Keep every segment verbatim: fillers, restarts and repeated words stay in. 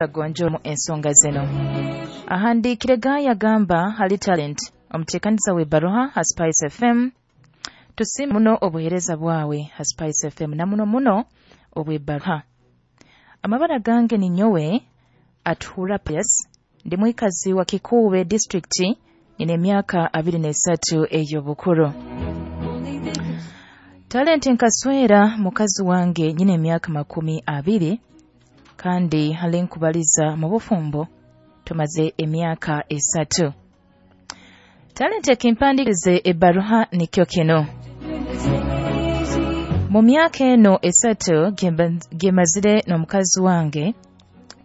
Gonjomu ensonga zino. Ahandiikire Gaaya agamba hali Talent omuteekaniza w'ebbaruha ha Spice F M. Tusiime muno obuheereza bwawe ha Spice F M na muno muno obw'ebbaruha. Amabara gange ni nyowe Atuhura Pius, ndi mwikazi wa Kikuube district, nina emyaka abiri n'esatu ey'obukuru. Talent nkaswera mukazi wange nyina emyaka makumi abiri kandi hali nkubaliza mu bufumbo tumaze emyaka esatu. Talent ekimpandikirize ebbaruha nikyo kino. Mu myaka eno esatu gemazire n'omukazi wange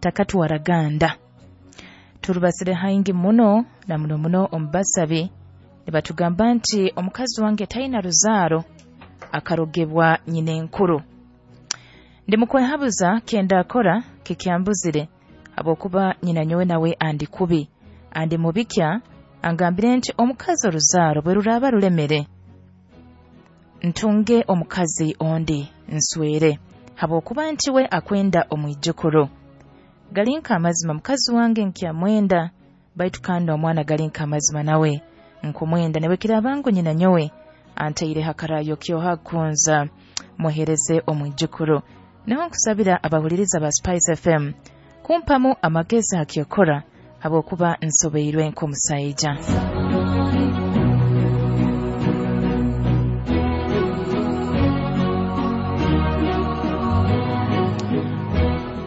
takatwaraganda. Turubasire haingi muno na muno muno omubasabi nibatugamba nti omukazi wange talina ruzaaro akarogebwa nyina enkuru. Ndi mukwehabuza kyenda akora kikyambuzire habwokuba nyina nyowe nawe andi kubi andi mubikya angambire nti omukazi oruzaaro bwe ruraba rulemere ntunge omukazi ondi nswere habwokuba nti we akwenda omwijukuru. Galinka amazima mukazi wange nkyamwenda baitu kandi omwana galinka amazima nawe nkumwenda newe kirabangu nyina nyowe anteire hakarayo kyoha kunza muhereze omwijukuru. Niho nkusabira abahuliriza ba Spice F M kumpamu amagezi hakyokora habwokuba nsobeirwe nk'omusaija.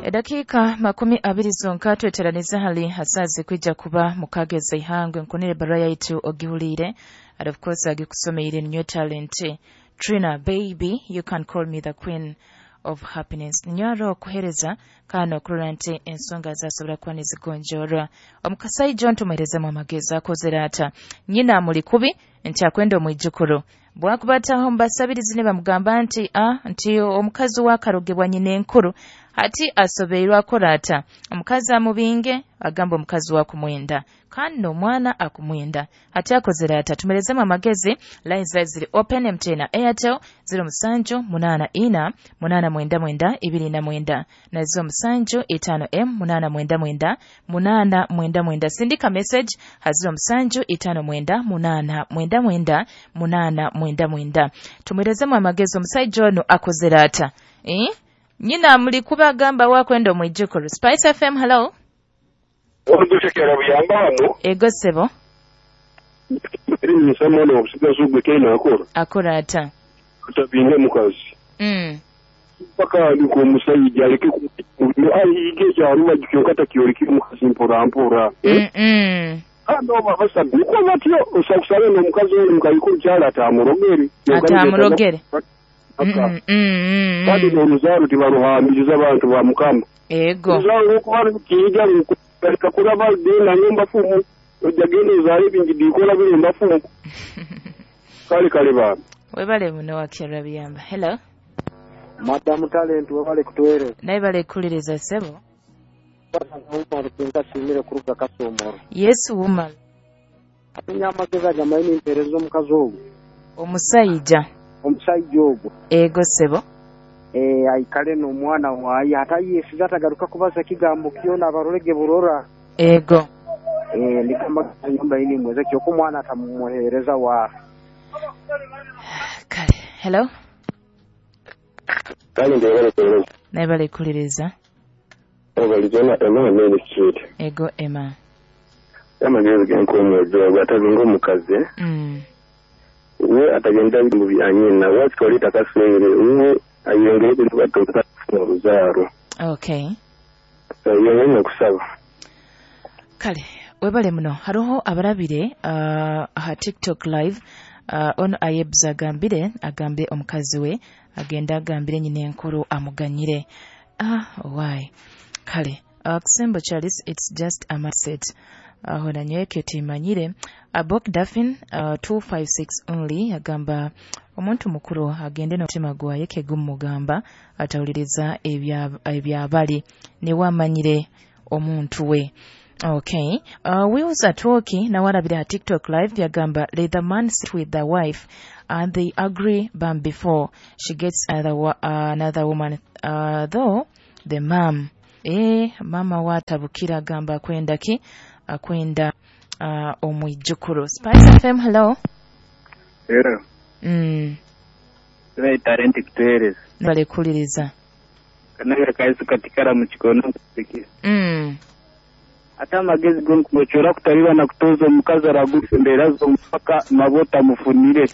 Edakika makumi abiri zonka tweteraniza hali hasazi kwija kuba mukageza ihangwe nkunire barua yaitu ogihulire. And of course agikusomeire new talent Trina baby, you can call me the queen of happiness. Nyaro okuhereza kano okurora nti ensonga zasobora kuba nizigonjorwa. Omukasaija ntumuherezemu amagezi akozere ata. Nyina amuli kubi nti akwenda omwijukuru. Bwakubataho mbasabirizi ne bamugamba nti a nti omukazi wakarogebwa nyina enkuru hati asobeirwe akora ata. Omukazi amubinge agamba omukazi wakumwenda kandi omwana akumwenda hati akozere ata. Tumerezemu amagezi. Lines ziri open M T N na Airtel zero musanju munana ina munana mwenda mwenda ibiri na mwenda na zero musanju itano m munana mwenda mwenda munana mwenda mwenda. Sindika message ha zero musanju itano mwenda munana mwenda mwenda munana mwenda mwenda. Tumerezemu amagezi omusaija ono akozere ata. Eh? Nyina muli kuba agamba wakwenda omwijukuru. Spice F M, hello. Orugushekera buyamba hano. Ego sebo. Eri nsamo no obusigazi ogwe kena akora. Akora ata. Kutabinga mukazi. Mm. Paka ndiko omusajja aleke ku ayige kyaruba kyokata kyolekire mukazi mpora mpora. Mm. Mm. Kandi oba basabi uko batyo osakusale n'omukazi oli mukayikuru kyala atamurogere. Atamurogere. Mm, mm, kandi n'oruzaaro tibaruhambiriza abantu ba Mukama. Ego. Oruzaaro okuba rukija rukareka kuraba dena nyumba fumu ojagenda ozaale ebingi bikola birumba fumu. Kale kale baba. Webale muno wakyera biyamba. Hello. Madam Talent webale kutuweereza. Naye bale kuliriza sebo. Nkasimire kuruga Kasomoro. Yes woman. Atinya amagezi agamanyi nimpeereza omukazi ogwo. Omusaija. Omusajja ogwo. Ego sebo. Eh aikale n'omwana waye atayesiza atagaruka kubaza kigambo kyona abarolege burora. Ego. Eh ndikamba nyumba ini mweze kyoko omwana atamumuhereza wa. Kale. Hello. Kale ndebale kuliriza. Naye bale kuliriza. Obalizona Emma Main Street. Ego Emma. Amagezi genkomwezo atabinga omukazi. Mm. We atagenda mu byanyina watwalita kaswere we ayongere kubatoka oruzaaro. Okay. Yongere kusaba. Kale webale muno haroho abarabire uh, ha TikTok live uh, ono ayebza agambire agambe omukazi we agenda agambire nyina enkuru amuganyire. Ah why. Kale uh, Kusembo Charles, it's just a mindset. Aho uh, nanyweke timanyire Abok Daffin uh, two five six only agamba omuntu mukuru agende n'omutima gwaye kegumugamba atawuliriza ebyabali ne wamanyire omuntu we. Okay. Uh, Wills Atoki na warabira TikTok live yagamba let the man sit with the wife and they agree bam before she gets other, uh, another woman uh, though the mom Eh, mama watabukira agamba akwenda ki? Akwenda uh, omwijukuru. Spice F M, hello. Hello. Mm. Right, talent kutereza. Bale kuliriza. Kanagera kaisu katikara mu kikono kusikia. Mm. Ata amagezi gonkumochora kutaliba na kutoza omukazi aragufembera zomupaka mabota mufunire.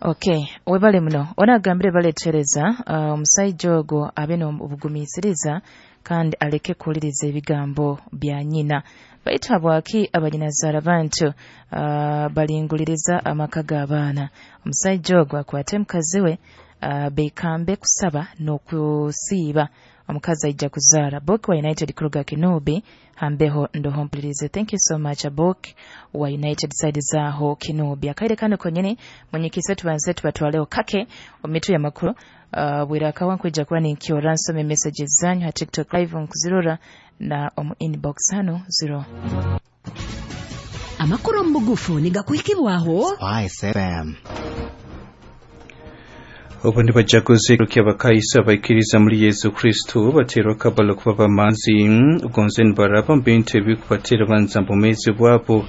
Okay, webale muno. Ona agambire baletereza omusajja uh, ogwo abe n'obugumiisiriza kandi aleke kuwuliriza ebigambo bya nnyina. Baitu habwaki abanyinazaara bantu uh, balinguliriza amaka g'abaana. Omusajja ogwo akwate mukazi we uh, beekambe kusaba n'okusiiba. Omukazi aija kuzaara. Bok wa United kuruga Kinubi hambeho ndoho mpulirize. Thank you so much Bok wa United side zaho Kinubi. Akaire kano konyene munyikise tubanze tubatwaleo kake omitu ya makuru. Uh, bwira akawa nkwija kuba ninkyora nsome messages zanyu ha TikTok live nkuzirora na omu inbox hano zero. Amakuru mubugufu nigakuhikibwaho Spice F M. Obundi bajaguze kyabakaisa abaikiriza muri Yesu Kristo baterwa kabalo kuba bamanzi ugonze nibaraba mu bintu ebikubatera banza mu mezi bwabo.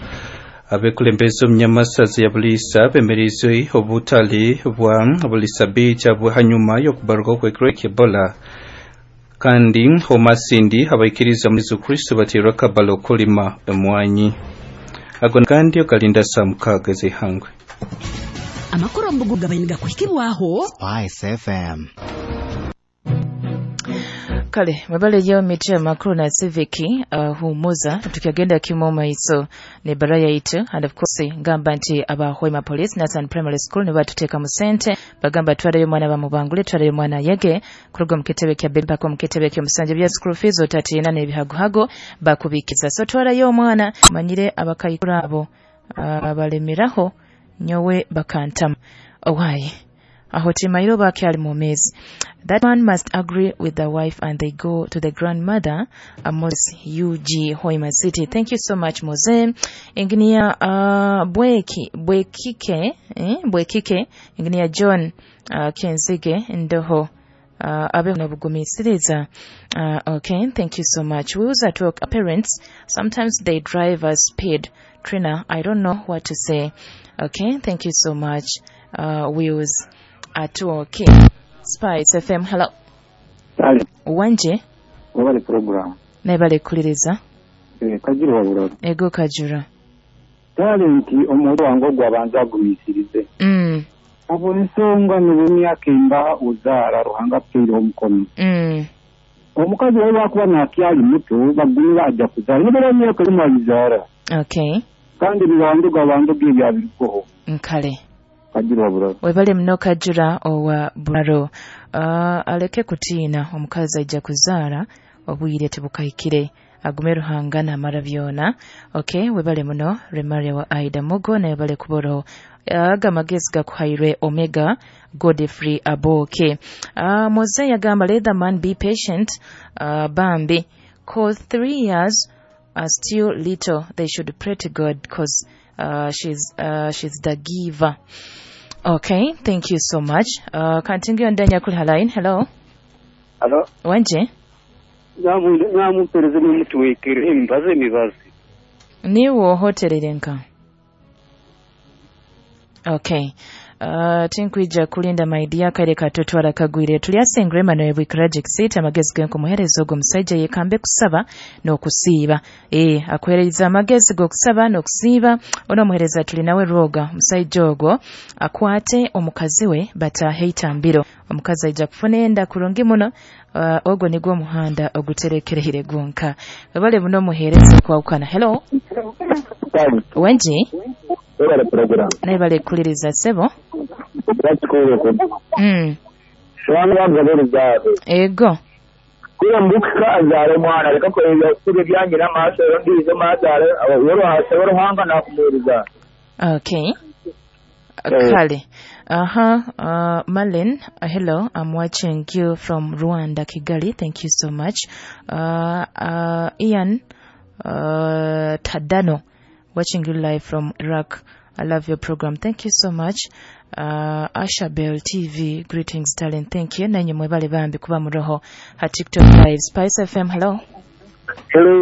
Abekulembeze omunyamasazi ya Bulisa bemereze obutale bwa Bulisa Beach abo hanyuma y'okubaruka kw'ekiro ky'Ebola. Kandi omasindi abaikiriza muri Yesu Kristo baterwa kabalo kulima emwanyi. Ago kandi okalinda saa mukaaga ez'eihangwe. Amakuru mbugu gabainiga kuhikibwaho Spice F M. Kale mwebale yo miti makuru na civic uh, humuza tukagenda kimo maiso ne baraya itu and of course ngamba nti abahwema police Nathan Primary School ne batuteka mu sente bagamba twarayo mwana bamubangule twarayo mwana yege kuruga mu kitebe kya Bempa ko mu kitebe kya musanje bya school fees otatina ne bihaguhago bakubikiza so twarayo omwana manyire abakayikura abo uh, abalemeraho nyowe bakantama owaye aho timairo bakyali mu mezi. That man must agree with the wife and they go to the grandmother, Amos U G Hoima City. Thank you so much Mose. Engineer uh, Bweki Bwekike eh Bwekike Engineer John uh, Kenzige Ndoho uh, abe nobugumisiriza. Uh, okay, thank you so much. We was at work parents sometimes they drive us speed. Trina, I don't know what to say. Okay, thank you so much. Uh, Wheels at okay. Spice F M, hello. Sale. Wanje. Wabale program. Naibale kuliriza. Eh, Kajura wabuloro. Ego Kajura. Talent omuntu wange ogwo abanza agumisirize. Mm. Abo ensonga n'emyaka emba ozaala Ruhanga akuteire omukono. Mm. Omukazi we bakuba nakyali muto bagumira ajja kuzaala. Nibera emyaka emu alizaala. Okay. Kandi biwanduga wanduga ebya birikoho. Nkale. Kajura wabuloro. Webale muno Kajura owa Bularo. Uh, aleke kutiina omukazi ajja kuzaala obwire tebukahikire agume Ruhanga n'amara byona. Okay, webale muno Remaria wa Aida Mugo na webale kuboro aga amagezi gakuhairwe Omega Godfrey Aboke. Uh, Mose yagamba let the man be patient uh, Bambi cause three years are still little they should pray to God cause uh, she's uh, she's the giver. Okay, thank you so much. Uh, continue ndani ya kuli line. Hello. Hello. Wanje. Nyamu pereze n'umutuwekere imbaze mibazi. Niwo hotelere nka. Okay. Uh, tinkwija kulinda maidia kale katotwala kagwire tulyasengre mano ebwikiragic seat amagezi genko muhereza ogwo musajja yekambe kusaba n'okusiiba. Eh, akuhereza amagezi g'okusaba n'okusiiba ono muhereza tuli nawe roga musajja ogwo akwate omukazi we batahe itambiro omukazi aija kufuna enda kurungi muno. Uh, ogwo nigwo muhanda oguterekerehire gonka babale buno muhereza kwawukana. Hello. Wenji naye bale kuliriza sebo. Mm. Ego. Kula mbuka azale mwana reka ko kule byange n'amaso ndizo mazale woro Ruhanga nakumuriza. Okay. Kale. Aha, uh, Marlene, uh, hello, I'm watching you from Rwanda, Kigali. Thank you so much. Uh, uh, Ian uh, Tadano, watching you live from Iraq. I love your program. Thank you so much. Uh, Asha Bell T V, greetings, darling. Thank you. Nanyi mwebale bambi kuba muroho ha TikTok live. Spice F M, hello. Hello.